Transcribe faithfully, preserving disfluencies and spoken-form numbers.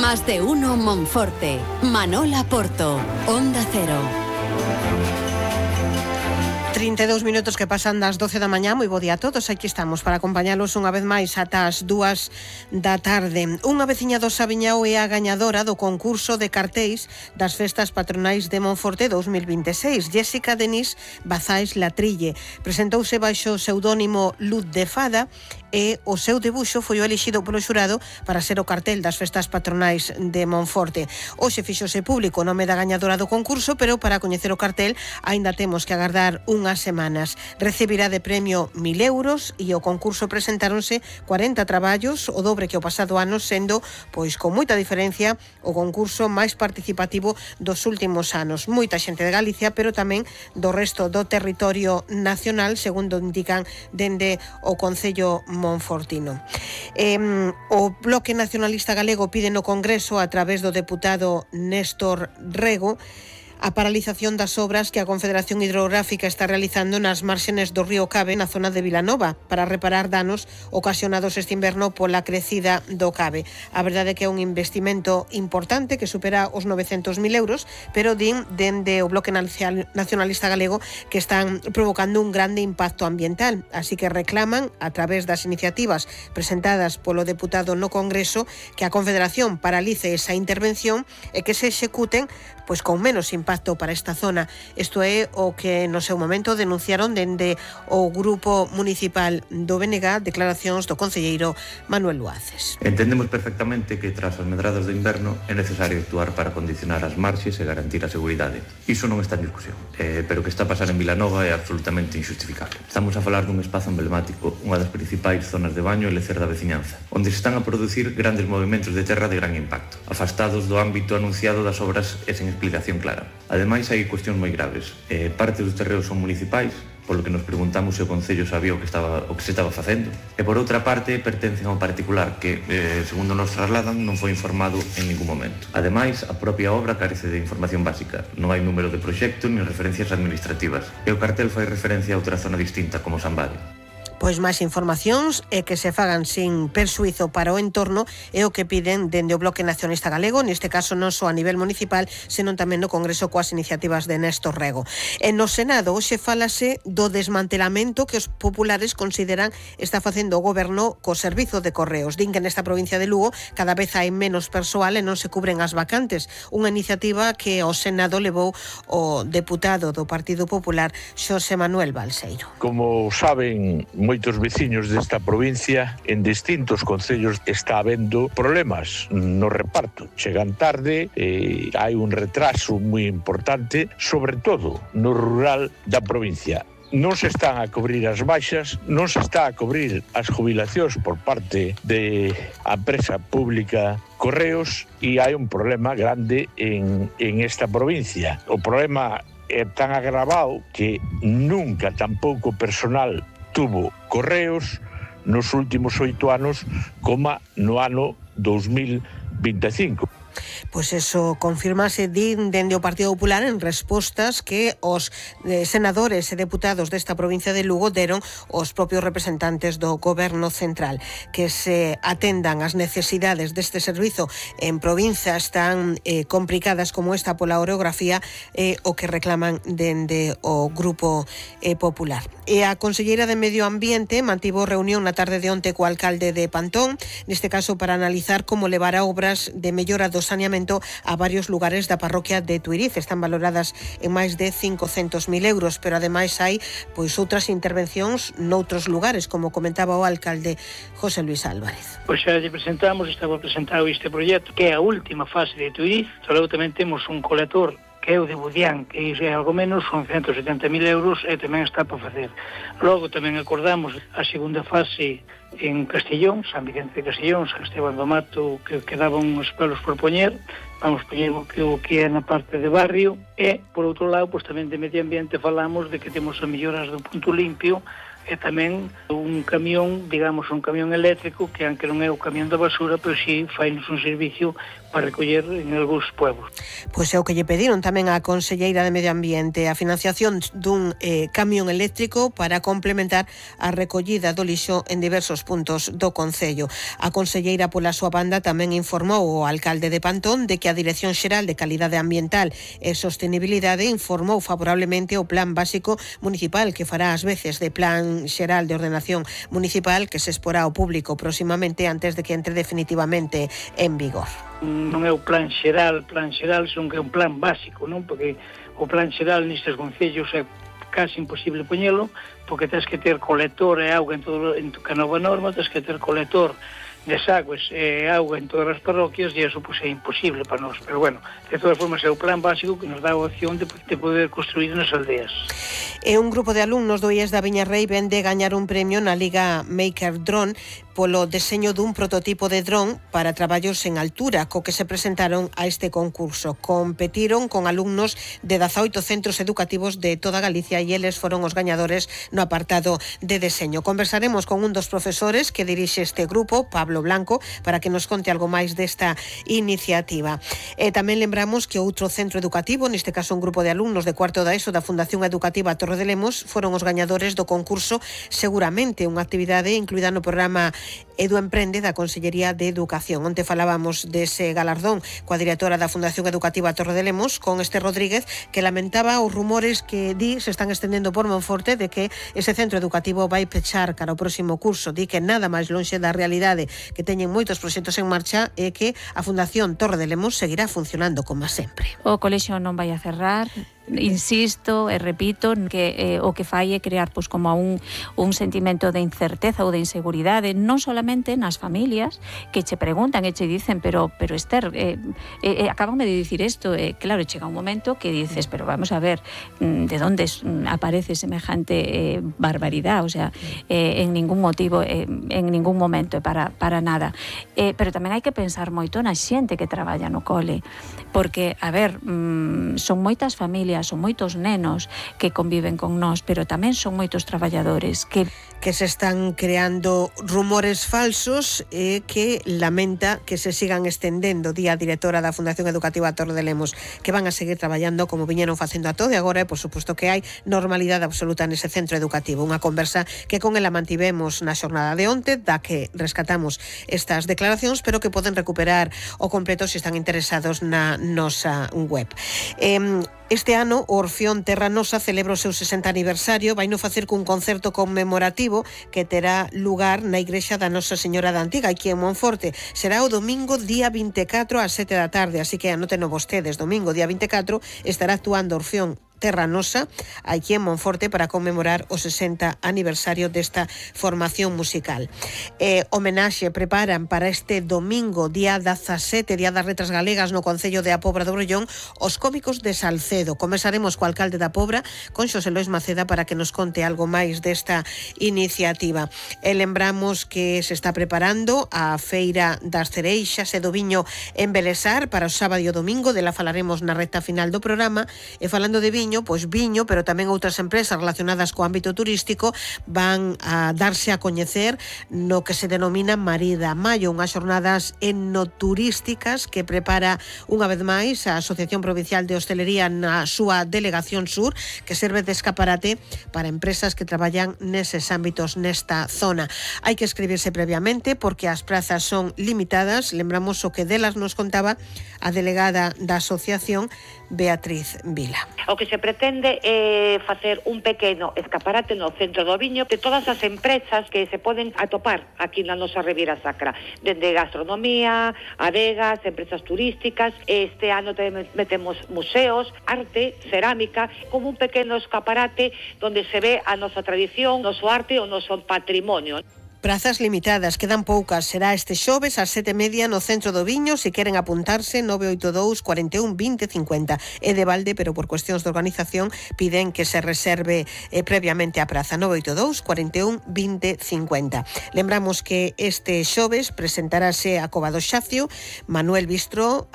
Más de uno Monforte. Manola Porto. Onda Cero. trinta e dous minutos que pasan das doce da mañá. Moi bo día a todos, aquí estamos para acompañalos unha vez máis ata as dúas da tarde. Unha veciña do Sabiñao é a gañadora do concurso de cartéis das festas patronais de Monforte dous mil vinte e seis. Jéssica Denis Bazais Latrille presentouse baixo o pseudónimo Luz de Fada e o seu debuxo foi o elixido polo xurado para ser o cartel das festas patronais de Monforte. Hoxe fixose público o nome da gañadora do concurso, pero para coñecer o cartel aínda temos que agardar unhas semanas. Recibirá de premio mil euros e o concurso presentáronse cuarenta traballos, o dobre que o pasado ano, sendo, pois con moita diferencia, o concurso máis participativo dos últimos anos. Moita xente de Galicia, pero tamén do resto do territorio nacional, segundo indican dende o Concello monfortino. Eh, o Bloque Nacionalista Galego pide no Congreso, a través do deputado Néstor Rego, a paralización das obras que a Confederación Hidrográfica está realizando nas márxenes do río Cabe, na zona de Vilanova, para reparar danos ocasionados este inverno pola crecida do Cabe. A verdade é que é un investimento importante que supera os novecentos mil euros, pero din dende o Bloque Nacionalista Galego que están provocando un grande impacto ambiental, así que reclaman, a través das iniciativas presentadas polo deputado no Congreso, que a Confederación paralice esa intervención e que se executen pois con menos impacto para esta zona. Isto é o que no seu momento denunciaron dende o Grupo Municipal do B N G, declaracións do concelleiro Manuel Luaces. Entendemos perfectamente que tras as medradas do inverno é necesario actuar para condicionar as marxes e garantir a seguridade. Iso non está en discusión, eh, pero o que está a pasar en Vilanova é absolutamente injustificable. Estamos a falar dun espazo emblemático, unha das principais zonas de baño e lecer da veciñanza, onde se están a producir grandes movimentos de terra de gran impacto, afastados do ámbito anunciado das obras e sen explicación clara. Ademais, hai cuestións moi graves. Eh, parte dos terreos son municipais, polo que nos preguntamos se o Concello sabía o que estaba o que se estaba facendo. E por outra parte, pertencen ao particular que, eh, segundo nos trasladan, non foi informado en ningún momento. Ademais, a propia obra carece de información básica. Non hai número de proxecto nin referencias administrativas. E o cartel fai referencia a outra zona distinta como San Bade. Pois máis informacións e que se fagan sin persuizo para o entorno é o que piden dende o Bloque Nacionalista Galego, neste caso non só a nivel municipal, senón tamén no Congreso coas iniciativas de Néstor Rego. E no Senado hoxe fálase do desmantelamento que os populares consideran está facendo o goberno co servizo de correos. Din que nesta provincia de Lugo cada vez hai menos persoal e non se cubren as vacantes. Unha iniciativa que ao Senado levou o deputado do Partido Popular, Xosé Manuel Balseiro. Como saben moitos veciños desta provincia, en distintos concellos está habendo problemas no reparto. Chegan tarde, eh, hai un retraso moi importante, sobre todo no rural da provincia. Non se están a cubrir as baixas, non se está a cubrir as jubilacións por parte de a empresa pública Correos e hai un problema grande en, en esta provincia. O problema é tan agravado que nunca tampouco personal tuvo Correos nos últimos oito anos como no ano dous mil vinte e cinco. Pois eso confirmase din dende o Partido Popular en respostas que os eh, senadores e deputados desta provincia de Lugo deron os propios representantes do Goberno Central, que se atendan as necesidades deste servizo en provincias tan eh, complicadas como esta pola orografía, eh, o que reclaman dende o Grupo eh, Popular. E a conselleira de Medio Ambiente mantivo reunión na tarde de onte co alcalde de Pantón, neste caso para analizar como levar a obras de mellora do saneamento a varios lugares da parroquia de Tuiriz. Están valoradas en máis de cincocentos mil euros, pero ademais hai pois outras intervencións noutros lugares, como comentaba o alcalde José Luis Álvarez. Pois xa lle presentamos, estaba presentado este proxecto, que é a última fase de Tuiriz. Logo tamén temos un colector que é o de Budián, que é algo menos, son ciento setenta mil euros e tamén está para facer. Logo tamén acordamos a segunda fase en Castellón, San Vicente de Castellón, San Esteban do Mato, que quedaban uns pelos por poñer, vamos poñer o que, o que é na parte de barrio, e, por outro lado, pois tamén de medio ambiente falamos de que temos as melloras do punto limpio e tamén un camión, digamos, un camión eléctrico que aunque non é o camión da basura, pero si fainos un servicio para recoller en algúns pueblos. Pois é o que lle pediron tamén á Conselleira de Medio Ambiente, a financiación dun eh, camión eléctrico para complementar a recollida do lixo en diversos puntos do concello. A conselleira pola súa banda tamén informou o alcalde de Pantón de que a Dirección Xeral de Calidade Ambiental e Sostenibilidade informou favorablemente o Plan Básico Municipal que fará ás veces de Plan Xeral de Ordenación Municipal que se exporá ao público próximamente antes de que entre definitivamente en vigor. Non é o plan xeral, plan xeral son que é un plan básico, non? Porque o plan xeral nestes concellos é casi imposible poñelo, porque tens que ter colector e auga en todo en a nova norma, tens que ter colector desagües e auga en todas as parroquias e eso pues, é imposible para nós. Pero bueno, de todas formas é o plan básico que nos dá a opción de, de poder construir nas aldeas. E un grupo de alumnos do I E S da Viñarrei ven de gañar un premio na Liga Maker Drone polo deseño dun prototipo de dron para traballos en altura, co que se presentaron a este concurso. Competiron con alumnos de dezaoito centros educativos de toda Galicia e eles foron os gañadores no apartado de deseño. Conversaremos con un dos profesores que dirixe este grupo, Pablo Blanco, para que nos conte algo máis desta iniciativa. E tamén lembramos que outro centro educativo, neste caso un grupo de alumnos de cuarto da ESO da Fundación Educativa Torre de Lemos, foron os gañadores do concurso Seguramente, unha actividade incluída no programa Edu Emprende da Consellería de Educación. Onte falábamos dese galardón coa directora da Fundación Educativa Torre de Lemos, con este Rodríguez, que lamentaba os rumores que di se están estendendo por Monforte de que ese centro educativo vai pechar cara ao próximo curso. Di que nada máis lonxe da realidade, que teñen moitos proxectos en marcha e que a Fundación Torre de Lemos seguirá funcionando como sempre. O colexio non vai a cerrar. Insisto e repito que eh, o que fai é crear pois, como un, un sentimento de incerteza ou de inseguridade, non solamente nas familias que che preguntan e che dicen pero, pero Esther, eh, eh, acabame de dicir isto, eh, claro, chega un momento que dices, pero vamos a ver de onde aparece semejante eh, barbaridade, o sea, eh, en ningún motivo, eh, en ningún momento para, para nada, eh, pero tamén hai que pensar moito na xente que traballa no cole, porque, a ver, mm, son moitas familias, son moitos nenos que conviven con nós, pero tamén son moitos traballadores que que se están creando rumores falsos e que lamenta que se sigan estendendo. Día a directora da Fundación Educativa Torre de Lemos, que van a seguir traballando como viñeron facendo a todo e agora, e por suposto que hai normalidade absoluta nese centro educativo. Unha conversa que con ela mantivemos na xornada de onte, da que rescatamos estas declaracións, pero que poden recuperar o completo se están interesados na nosa web. Eh, Este ano o Orfeón Terra Nosa celebra o seu sesenta aniversario, vai no facer cun concerto conmemorativo que terá lugar na igrexa da Nosa Señora da Antiga, aquí en Monforte. Será o domingo día vinte e catro ás sete da tarde, así que anóteno vostedes, domingo día vinte e catro estará actuando Orfeón Terra Nosa aquí en Monforte para conmemorar o sesenta aniversario desta formación musical. Eh, homenaxe preparan para este domingo, día dezasete, Día das Letras Galegas no Concello de A Pobra do Brollón, os cómicos de Salcedo. Conversaremos co alcalde da Pobra, con Xosé Lois Maceda, para que nos conte algo máis desta iniciativa. E lembramos que se está preparando a Feira das Cereixas e do Viño en Belesar para o sábado e o domingo, dela falaremos na recta final do programa. E falando de viño, pois viño, pero tamén outras empresas relacionadas co ámbito turístico van a darse a coñecer no que se denomina Marida Maio, unhas xornadas enoturísticas que prepara unha vez máis a Asociación Provincial de Hostelería na súa Delegación Sur, que serve de escaparate para empresas que traballan neses ámbitos nesta zona. Hai que escribirse previamente porque as prazas son limitadas. Lembramos o que delas nos contaba a delegada da asociación, Beatriz Vila. O que se pretende é facer un pequeno escaparate no centro do viño de todas as empresas que se poden atopar aquí na nosa Ribeira Sacra, dende gastronomía, adegas, empresas turísticas. Este ano tamén metemos museos, arte, cerámica, como un pequeno escaparate donde se ve a nosa tradición, noso arte e o noso patrimonio. Prazas limitadas, quedan poucas. Será este xoves ás sete e media no centro do Viño. Se queren apuntarse, nove oito dous, cuarenta e un, vinte, cincuenta. É de balde, pero por cuestións de organización piden que se reserve eh, previamente a praza. nove oito dous, cuarenta e un, vinte, cincuenta. Lembramos que este xoves presentarase a Cova do Xacio, Manuel Bistro, a